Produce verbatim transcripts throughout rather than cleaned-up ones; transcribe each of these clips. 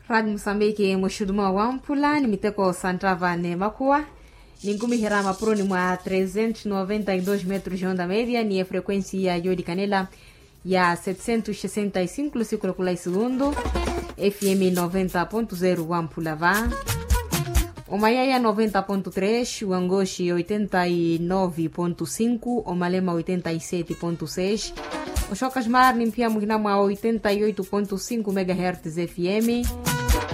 Radi musambiki muxutuma wamphula ni miteko sa nttava n'emakhuwa, ninkumiherya mapuroni mwa trezentos noventa y dos metros onda media ni efrequencia yoolikanela ya setecentos sesenta y cinco lusiku lakula isegundu. Fm noventa ponto zero wamphula va, omayaya noventa ponto tres, wangoxi oitenta y nove ponto cinco, omalema oitenta y sete ponto seis, oxoka xmar ni mphiya muhina mwa oitenta y oito ponto cinco megahertz fm,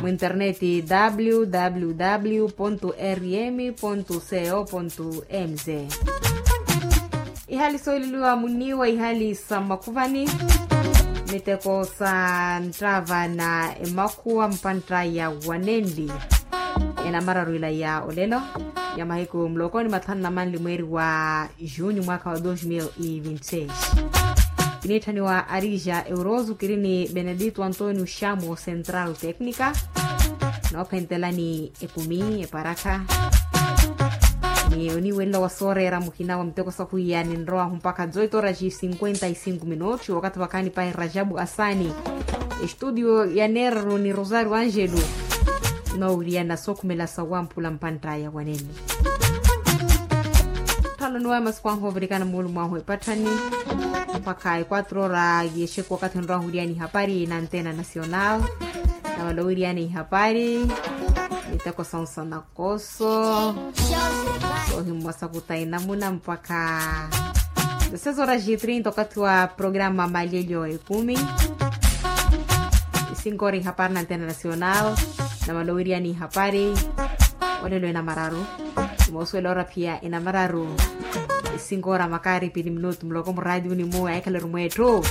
mu internet www rm co mz. Ihali sooleliwa muniiwa ihali sa makhuvani, miteko sa nttava na emakhuwa mpantta ya wanenli. Enamararu ila ya olelo ya mahiku muloko ni mathanu na manli mweeri wa junho mwaakha wa dos mil e vinte seis. Kiniitthaniwa arija euroso kiri ni benedito antonio xamo central tecnica. Noophentelani ekumi eparakha ni oniiwelela wa sooreera muhina wa miteko sahwiya ninrowahu mpakha zoito horas cinquenta y cinco minutos wakathi wakhaani pahi rajabu asani. Estudio ya neeraru ni rosario angelo. Noowiriyana sookhumela sa wamphula mpanttaya wanene. Tthalo nuwe masiku anhu ovirikana muulu mwahu epatthani mpakha equatro ora yexeku wakathi onrowahu wiriyani hapari na antena nacional. Namala owiriyana ihapari miteko sansana koso. Sohimmosa kuta inamuna mpakha deseis horas e trinta okathi wa programa malelyo ekumi. Isinko ora ihapari na antena nacional. Namala owiriyana ihapari olelo enamararu. Imoosuwela ora phiya enamararu. Isinko ora makaari pili minutu muloko muraatiuni mu ahikhalaru mweetthu.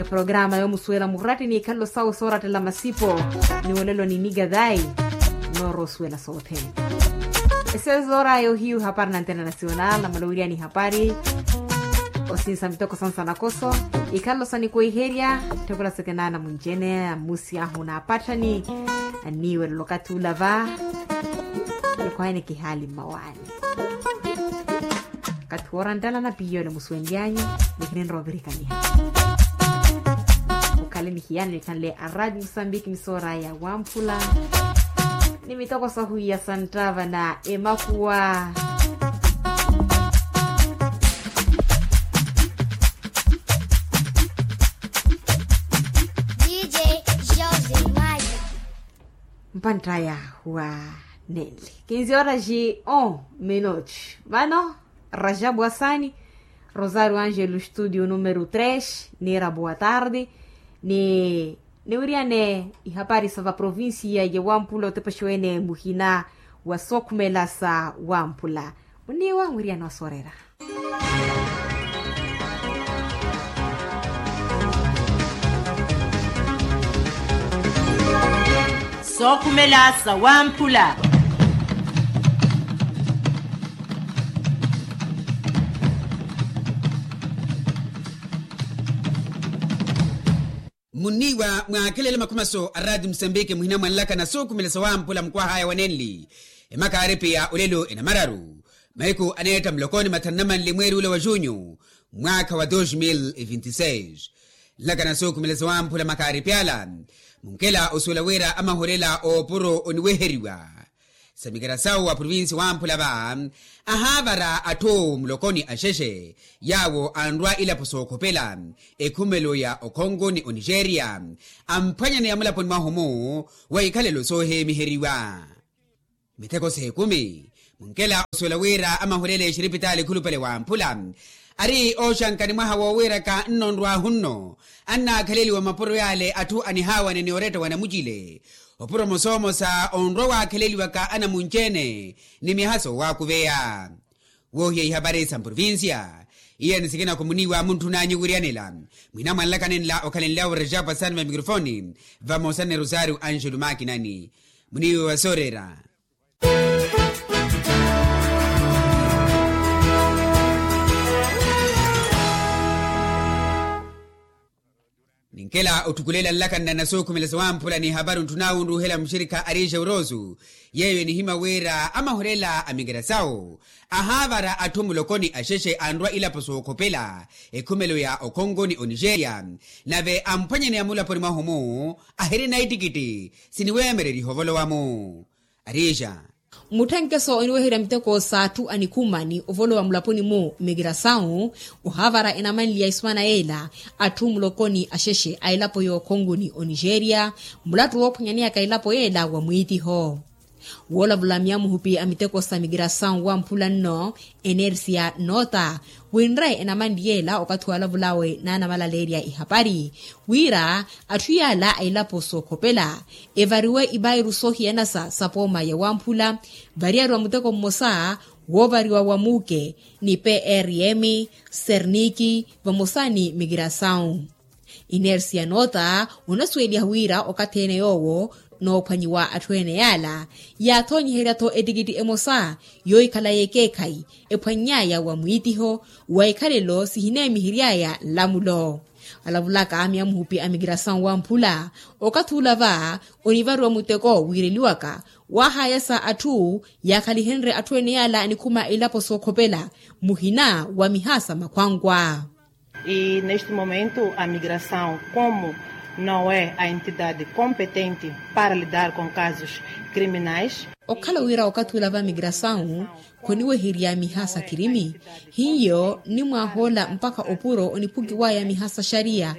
Eprograma yoomusuwela murattini ikhalelo sawe soorattela masipo. Ni olelo ni nikathayi noorosuwela soothene. Esezoora yohiyu hapari na antena nacional namala owiriyani hapari osinsa miteko sansana koso. Ikhalelo sa nikwiherya tthekula sekenaana munjene amusi ahu naapatthani. Anniiwelela okathi ula va. Nikhwayani kihaali mmawaani. Kathi woora nttala na piiyole musuwenlyanyu. Ni kininrovirikaniha. Mukhale ni hiyana nikhanle aradi musambiki misoora ya wamphula ni mitoko sahuwiya sa nttava na emakhuwa. Dj Jose Mayo. Mpanttaya wa nenli kinzi horas on minutos. Vano rajabu asani, rosario angelo studio numero tres niira boa tarde. Ni niwiriyane ihapari sa vaprovincia ya wamphula otepexiwene muhina wa sookhumela sa wamphula. Muniiwa nwiriyane wasoorera. Sookhumela sa wamphula. Muniiwa mwaakhelele makhumaso a rati musambiki muhina mwanlaka na sookhumela sa wamphula mukwahaya wa nenli. Emakaari piya olelo enamararu mahiku aneetta mulokoni mathanu na manli mweeri ula wa junho mwaakha wa dos mil e vinte e seis. Nlaka na sookhumela sa wamphula makaari pyala munkela osuwela wira amahulela oopuro oniweheriwa. Samikera sawo wa provinsi wamphula va ahaavara atthu mulokoni axexe yaawo anrwa ilapo sookhopela ekhumelo ya okhongo ni onigeria amphwanyaneya mulaponi mwahumu wa ikhalelo sooheemiheriwa. Mitheko s'ekumi munkela osuwela wira amahulela exiripitaali ekhulupale wamphula ari ooxanka ni mwaha woowiiraka nnonrwahu nno annaakhaleliwa mapuro yaale atthu anihaawane ni oretta wa namucile. Opuromo soomosa onrwa waakhaleliwaka anamunci-ene ni myaha soowaakuveya. Woohiya ihapari sa mprovincia iya ni sikinako muniiwa muntthun'anyu wiriyanela mwina mwanlaka nenla okhalenlyawo rejapa sani va mikrofoni vamosa ni rosario anjelu makinani. Muniiwa wa sooreera. Ninkela otthukulela nlakanna na sookhumela sawamphula ni hapari ontthuna wunruuhela muxirikha arije uroosu, yeeyo enihimya wira amahulela a mikirasawu ahaavara atthu mulokoni axexe anrwa ilapo sookhopela ekhumelo ya okhongo ni onijeria, nave amphwanyaneya mulaponi mwahu-mu ahirina ittikitti siniweemereriha ovolowa-mu. Arija. Mutthenkeso oniweherya miteko s'atthu anikhuma ni ovolowa mulaponi-mu mikirasawu ohaavara enamanliya isumana yeela atthu mulokoni axexe a elapo y'okhongo ni onijeria, mulattu woophwanyaneyaka elapo yeela wa mwiitiho. Woolavula myamuhupi a miteko sa mikirasawu wamphula nno enersia noota winre enamanli yeela okathi walavulawe n'anamalaleerya ihapari wira atthu yaala a ilapo sookhopela evariwe ivairu soohiyanasa sa pooma ya wamphula variyariwa muteko mmosa woovariwa wa muuke ni prm serniki vamosa ni mikirasawu. Inersia noota onasuweliha wira okathi ene yoowo noophwanyiwa atthu ene yaala yaathoonyiherya-tho ettikitti emosa yoohikhala y'ekeekhayi ephwanny'aya wa mwiitiho wa ikhalelo sihineemihery'aya nlamulo. Alavulaka myamuhupi a mikirasawu wamphula okathi ula va onivariwa muteko wiireliwaka waahayasa atthu yaakhalihenrye atthu ene yaala anikhuma a ilapo sookhopela muhina wa mihaasa makhwankwa. E neste momento a migração como não é a entidade competente para lidar com casos criminais. Okhala wira okathi ula va migrasawu khoniweherya miha sa kirimi hiyo nnimwahoola mpakha opuro oniphukiwaya miha sa xariya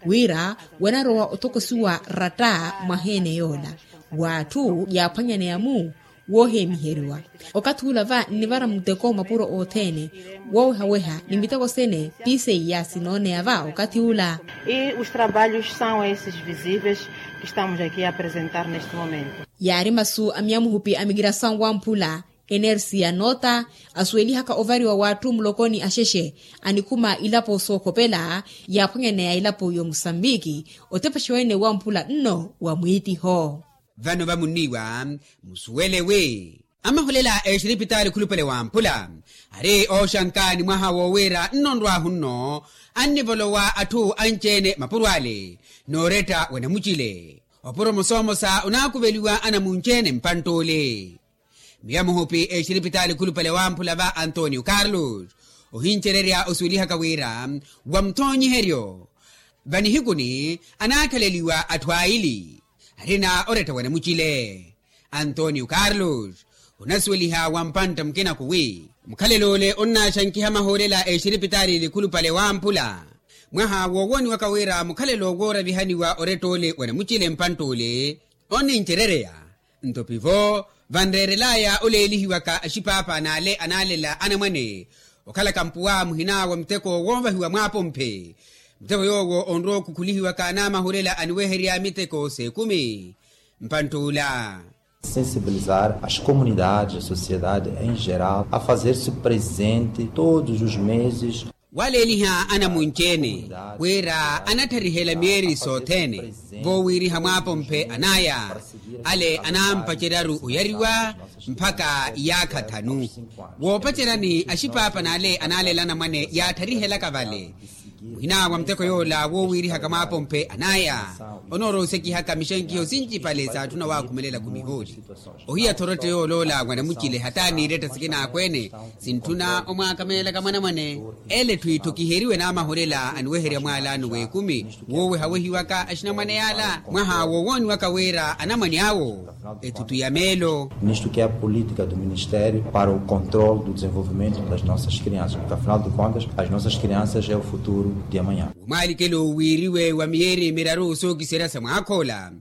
wira wanarowa otokosiwa ratta mwaheene yoola w'atthu yaaphwanyaneya-mu woohemiheriwa. Okathi ula va nnivara muteko mapuro othene woowehaweha ni miteko sene piiseiya sinooneya va okathi ula. E os trabalhos são esses visíveis que estamos aqui a apresentar neste momento. Yaari masu a myamuhupi a migrasawu wamphula enersia noota asuwelihaka ovariwa w'atthu mulokoni axexe anikhuma ilapo sookhopela yaaphwanyaneya ilapo y'omusambiki otepexa wene wamphula nno wa mwiitiho. Vano vamunniwa musuwele wi amahulela a exiripitaali khulupale wamphula ari ooxanka ni mwaha woowira nno nrwahu nno annivolowa atthu anci-ene mapuro ale nooretta wa namucile opuro omosa omosa onaakuveliwa anamunci-ene mpantt'ule. Miya muhupi exiripitaali khulupale wamphula va antonio carlos ohincererya osuwelihaka wira wa muthoonyiheryo vanihikuni anaakhaleliwa atthu aili arina oretta wa namucile. Antonio carlos onasuweliha wa mpantta mukinaku wi mukhalelo ole onnaaxankiha mahoorela a exiripitaali likhulupale wamphula mwaha woowoniwaka wira mukhalelo wooravihaniwa oretta ole wa namucile mpantta ole onnincerereya. Nto pivo vanreerelaya oleelihiwaka axipaapa n'ale anaalela anamwane okhalaka mpuwa muhina wa muteko woovahiwa mwaapomphe muteko yoowo onrowa okhukhulihiwaka n'amahulela aniweherya miteko s'ekumi mpantt'ula. Sensibilizar as comunidades a sociedade em geral a fazer-se presente todos os meses. Waleeliha anamunci-ene wira anatthariherya miyeeri sothene voowiriha mwaapomphe anaya ale anampaceryaru oyariwa mpakha iyaakha thanu woopaceryani axipaapa n'ale anaalela anamwane yaattarihelaka vale muhina wa muteko yoola woowirihaka mwaapomphe anaya onoorowa osekihaka mixenkiho sincipale s'atthu nawakhumelela khumihooli. Ohiya-tho oretta yooloola wa namucile hata niiretta sikina akweene sintthuna omwaakamelelaka mwanamwane ele etthu itthu kiheriwe n'amaholela aniweherya mwaalano w'ekumi woowehawehiwaka axinamwane yaala mwaha woowooniwaka wira anamwane awo ethutu ya meelo. Nisto que é a política do ministério para o controle do desenvolvimento das nossas crianças porque afinal de contas as nossas crianças é o futuro de amanhã. Womwalikelo wiiriwe wa miyeeri miraru sookiserya sa mwaakhoola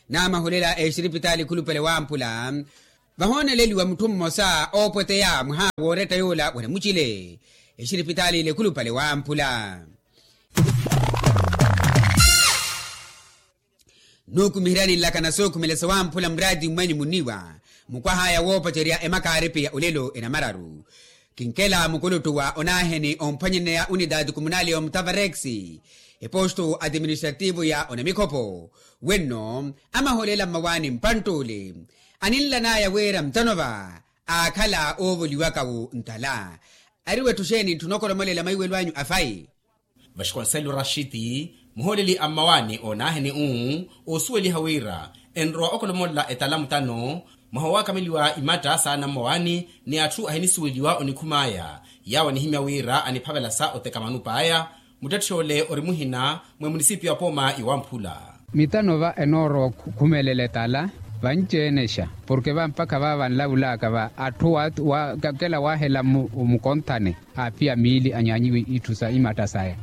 n'amahulela exiripitaali khulupale wamphula vahooneleliwa mutthu mmosa oopweteya mwaha wooretta yoola wa namucile exiripitaali lekhulupale wamphula. Nuukumiheryani nlakana sookhumela sawamphula muraati mmwenyu munniwa mukwah'aya woopacerya emakaaripi ya olelo enamararu. Kinkela mukuluttu wa onaaheni omphwanyaneya unitaati kumunali omutavarex eposto atiministrativu ya onamikhopo wenno amaholela mmawaani mpantt'ule aninlan'aya wira mutano va aakhala oovoliwaka-wo ntala. Ari wetthu xeeni ntthuna okolomolela maiwelo anyu afayi? Vasconcelos rashiti Muhooleli a mmawaani oonaaheni uu oosuweliha wira enrowa okolomolela etala mutano mwaha owaakameliwa imatta saana mmawaani ni atthu ahinisuweliwa onikhum'aya yaawo anihimya wira aniphavela sa oteka manupa aya. Muttetthe ole ori muhina mwa emunisipiyo apooma iwamphula. Mitano va enoorowa okhumelela etala vanci-enexa porke va mpakha va vanlavulaka va atthu wakela waahela mukonthane aaphiya miili anyaanyiwe itthu sa imatta saya.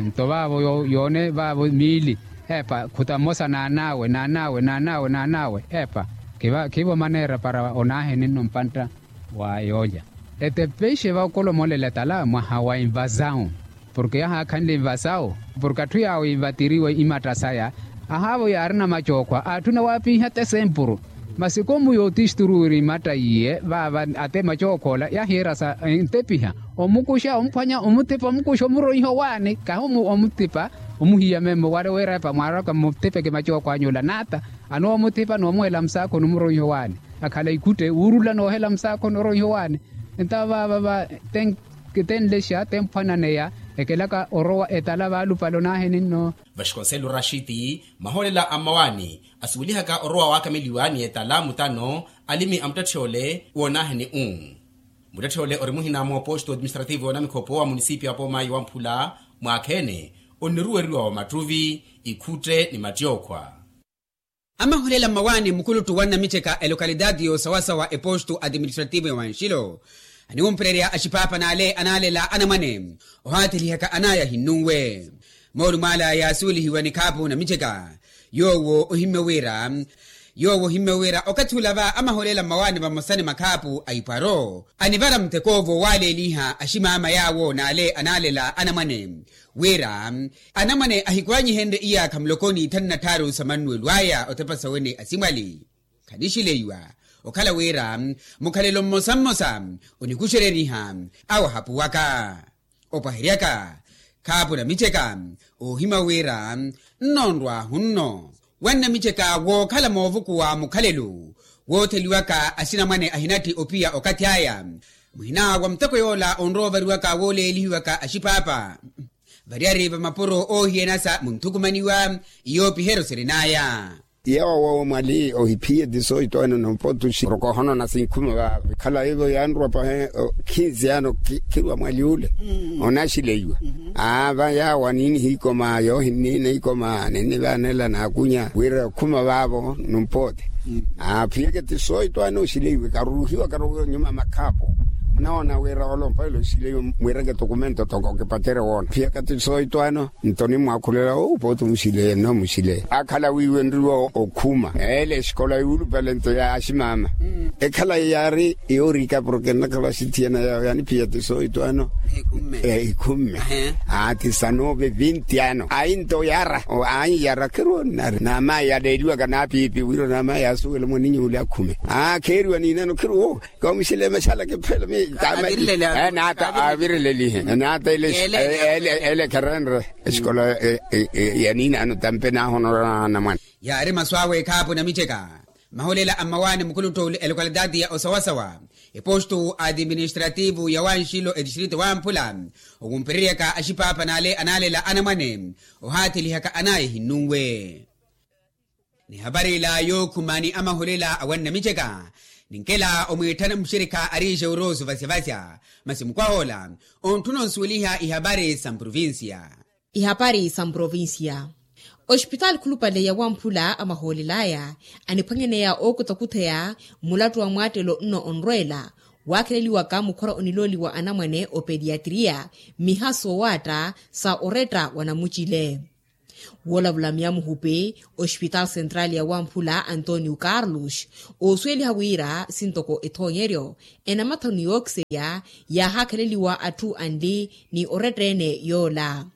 Nto vaavo yoone vaavo miili eepa khuta mmosa naan'awe naan'awe naan'awe naan'awe eepa khivo maneera para onaaheni nno mpantta wa yoolya. Etepeixe va okolomolela etala mwaha wa invasawu porke yahaakhanle invasawu porke atthu yaawo invatiriwe imatta saya ahaavo yaarina macookhwa aatthuna waapinha tesempuru. Masi komu yootisturu wira imatta iye vaava ate macookhwa ola yahiira sa entepiha omukuxa omuphwanya omuthipa omukuxa omuroiha owaani kahi omuthipa omuhiya memmo wale wira epa mwaaraka mmuthipeke macookhwa anyu ola naata anoowa omuthipa noomuhela musaakho nomuroiha owaani. Akhala ikhutte wuurula noohela musaakho nooroiha owaani. Entawo vaava va tenlexa temphwananeya ekelaka orowa etala vaalupale onaaheni nno. Vaxikonsello raxiti mahoolela a mmawaani asuwelihaka orowa waakameliwa ni etala mutano alimi a muttetthe ole woonaaheni uu. Muttetthe ole ori muhina mwa oposto administrativo wa namikhopo wa munisipiyo apooma iwamphula mwaakha-ene onniruweriwa wa mattuvi ikhutte ni mattyokhwa. Amahulela mmawaani mukuluttu wa nnamicheka elokalitaati y'osawasawa epostu atiministrativu ya wanxilo aniwumpererya axipaapa n'ale anaalela anamwane ohaathilihaka anaya ahinnunwe. Moolumo ala yaasuwelihiwa ni khaapu namicheka yoowo ohimmya wira yoowo ohimmya wira okathi ula va amahulela mmawaani vamosa ni makhaapu a ipwaro anivara mutekoovo waaleeliha aximaama yaawo n'ale anaalela anamwane wira anamwane ahikwaanyihenrye iyaakha muloko n'ithanu na tthaaru sa mannuwelo aya otepa sawene asimwali. Khanixileiwa okhala wira mukhalelo mmosa mmosa onikuxereriha awahapuwaka opwaheryaka khaapu namicheka oohimya wira nnoonrwaahu nno wa nnamicheka wookhala moovukuwa mukhalelo wootheliwaka axinamwane ahinatthi opiya okathi aya muhina wa muteko yoola onrowa ovariwaka wooleelihiwaka axipaapa variyari va mapuro oohiyanasa munthukumaniwa iyoopiheryo sirin'aya. Yoowo mwali ohiphiye tisoito eno nompotuxi oroko ohonona sinkhuma vaavo ekhala ivo yaanrowa pahe khinzi ano khirwa mwali ule onaxileiwa. Aava yaawo aniiniha ikoma yoohinniina ikoma ninnivaanela naakunya wira okhuma vaavo nompote. Phiyaka tisoito ano oxileiwe karuruhiwa karuruhiwa nyuma makhaapo munawoona wira olompelo oxileiwe mwireke tokumento toko kipatere woona phiyaka tisoito ano. Nto nimwaakhulela owo pooti omuxileye nno muxileye akhala wiiwenriwa okhuma ele exikola yuulupale nto ya aximaama. Ekhala yaari yoorika porke nnakhala axithiyana yawe yaniphiya tisoito ano ikhumme. Ati sanove vinti ano ayi nto yaara ayi yaara khiru nnari naamayi yaleeliwaka naapiipi wira naamayi yaasuwela mwaninyu ule akhume aa kheeriwa niinano khiru wo. Kamuxile maxala kiphela mi naata avirilelihe naata ele ele ele kherenre exikola ya niinano tampe nahonora namwana. Yaari masu awe ekhaapu namicheka mahulela a mmawaani mukuluttu elokalitati ya osawasawa epostu adiministrativu ya wanxilo etistrito wamphula owumpereryaka axipaapa n'ale anaalela anamwane ohaathilihaka anaya ehinnunwe. Ni hapari ila yookhuma ni amahulela a wannamiceka ninkela omwiitthana muxirikha ariixe orosu vasyavasya masi mukwahoola ontthuna onsuweliha ihapari sa mprovincia. Ihapari sa mprovincia. Ospitaali khulupale ya wamphula amahoolel'aya aniphwanyaneya ookutakhutheya mulattu wa mwaattelo nno onrweela waakheleliwaka mukhora onilooliwa anamwane opediatriya mmiha soowaatta sa oretta wa namucile. Woolavula myamuhupi ospitaali sentrali ya wamphula antonio carlos oosuweliha wira sintoko ethoonyeryo enamathanu yookiserya yaahaakhaleliwa atthu anli ni oretta-ene yoola.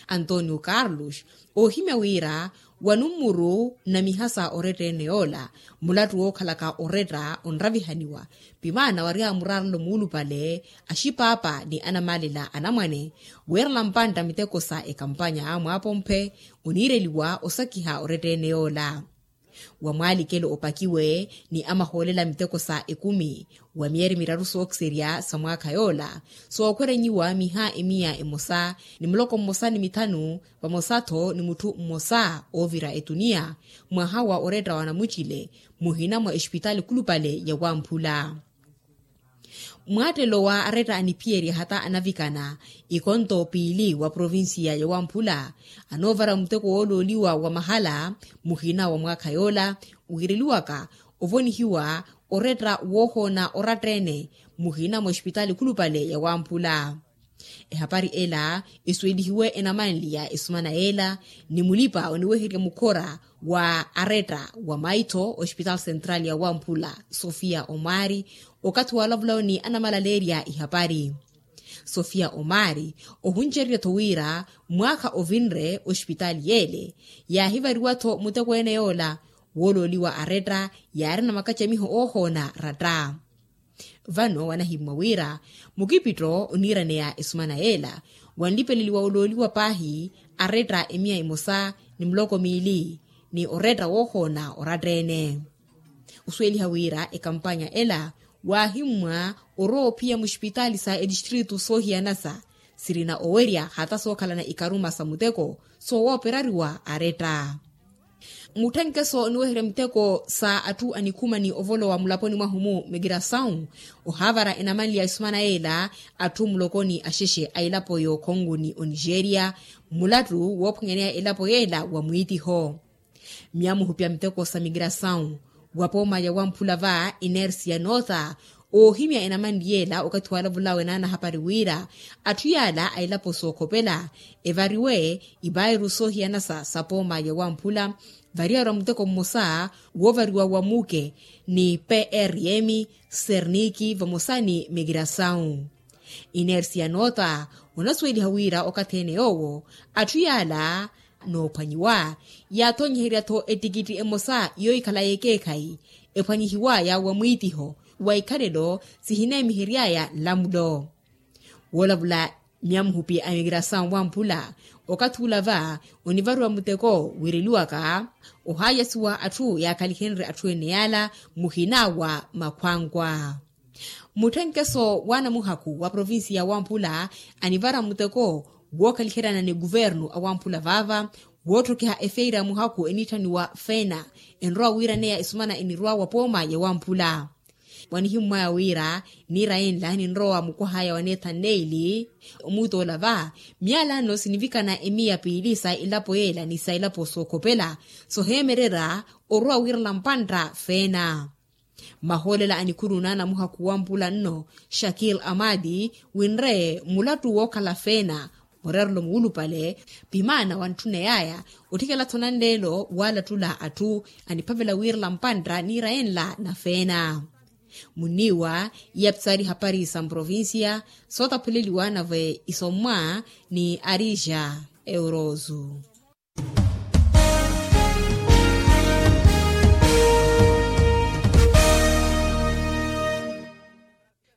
Antonio carlos oohimya wira wa nummuru na mihasa oretta-ene yoola mulattu wookhalaka oretta onravihaniwa pimaana wari amuraarelo muulupale axipaapa ni anamaalela anamwane weerela mpantta miteko sa ekampanya mwaapompe oniireliwa osakiha oretta-ene yoola. Wa mwaalikelo opakiwe ni amahoolela miteko sa ekumi wa miyeri miraru sookiserya sa mwaakha yoola, sookhwerenyiwa miha emiya emosa ni muloko mmosa ni mithanu, vamosa-tho ni mutthu mmosa oovira etuniya mwaha wa oretta wa namucile, muhina mwa esipitaali khulupale ya wamphula. Mwaattelo wa aretta aniphiyerya hata anavikana ikonto piili wa provincia ya wamphula, anoovara muteko woolooliwa wa mahala muhina wa mwaakha yoola, wiireliwaka ovonihiwa oretta woohoona oratta-ene muhina mwa esipitaali khulupale ya wamphula. Ehapari ela esuwelihiwe enamanli ya esumana yeela ni mulipa oniweherya mukhora wa aretta wa maitho osipitaali central ya wamphula, sofia omari, okathi waalavulawo ni anamalaleerya ihapari. Sofia omari, ohuncererya-tho wira mwaakha ovinre osipitaali yeele yaahivariwa-tho muteko ene yoola, woolooliwa aretta yaarina makacamiho oohoona ratta. Vano wanahimmwa wira mukipitto oniiraneya esumana yeela, wanlipeleliwa olooliwa paahi aretta emiya emosa ni muloko miili ni oretta woohoona oratta-ene. Osuweliha wira ekampanya ela waahimmwa orowa ophiya musipitaali sa etistritu soohiyanasa sirina owerya hata sookhalana ikaruma sa muteko soowooperariwa aretta. Mutthenkeso oniweherya miteko sa atthu anikhuma ni ovolowa mulaponi mwahu-mu migrasawu, ohaavara enamanli ya esumana yeela atthu mulokoni axexe a elapo y'okhongo ni onigeria, mulattu woophwanyaneya elapo yeela wa mwiitiho. Myamuhupi a miteko sa migrasawu wa pooma ya wamphula va inersia nootha, oohimya enamanli yeela okathi waalavulawe naanahapari wira atthu yaala a elapo sookhopela evariwe ivairu soohiyanasa sa pooma ya wamphula, variyarwa muteko mmosa woovariwa wa muke ni prm, serniki vamosa ni migrasawu. Inersia nootha onasuweliha wira okathi-ene yoowo atthu yaala noophwanyiwa, yaathonyeherya-tho etikitti emosa yoohikhala y'ekeekhayi ephwanyihiwaya wa mwiitiho wa ikhalelo sihineemiheryaya nlamulo. Woolavula myamuhupi a migrasawu wamphula, okathi ula va onivariwa muteko wiireliwaka ohaayasiwa atthu yaakhalihenrye atthu ene yaala muhina wa makhwankwa. Mutthenkeso wa namuhakhu wa provincia ya wamphula anivara muteko wookhaliheryana ni kuvernu a wamphula vaava, wootthokeha efeira ya muhakhu enitthaniwa fena, enrowa wiiraneya esumana enirwa wa pooma ya wamphula. Wanihimmwaya wira niira yenla ninrowa mukwahaya wa neethan neili omuutola va, myaala ano sinivikana emiya piili sa elapo yeela ni sa elapo sookhopela soheemererya orowa wiirala mpantta fena. Mahoolela a nikhuru naana muhakhu wa mpula nno shakil amadi winre mulattu wookhala feena, murerelo muwulupale pimaana wantthuneyaya otthikela-tho nanleelo waalattula atthu aniphavela wiirela mpantta niira enla na feena. Munniiwa iyapsaari hapari sa mprovincia sootaphuleliwa nave isommwa ni arija eurozu.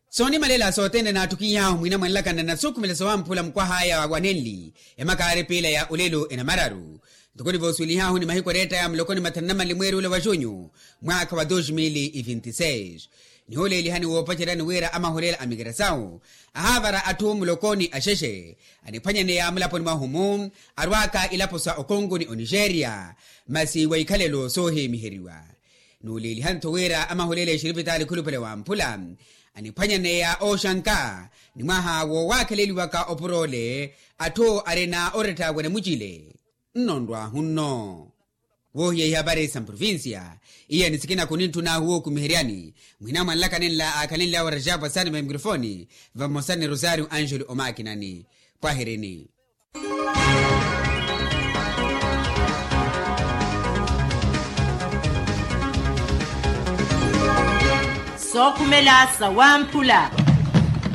Soonimalela sothene naattukihahu mwina mwanlakana na nasukhumela sowamphula mukwahaya wa nenli emakaari piila ya olelo enamararu. Ntukuni voosuwelihahu ni mahiku erettaya mulokoni mathanu na mali mweeri ula wa junyu mwaakha wa dos mil e vinti seis. Nihuleelihani woopaceryani wira amahulela a mikerasawu ahaavara atthu mulokoni axexe aniphwanyaneya mulaponi mwahu-mu arwaaka ilapo sa okongo ni onigeria masi wa ikhalelo soohimiheriwa. Nuuleeliha-tho wira amahulela exiripitaali khulupale wamphula aniphwanyaneya ooxanka ni mwaha woowakheleliwaka opurole atthu arina oretta wa namucile. Nnonrwahu nno woohiya ihapari sa mprovincia. Iyeni sikina kuninttuna ahuwa okumiheryani mwina mwanlaka nenla aakhalenlyawe rajaapu asani va mikrofoni vamosa ni rosario angelo omakinani. Pwahirini. Sookhumela sawamphula.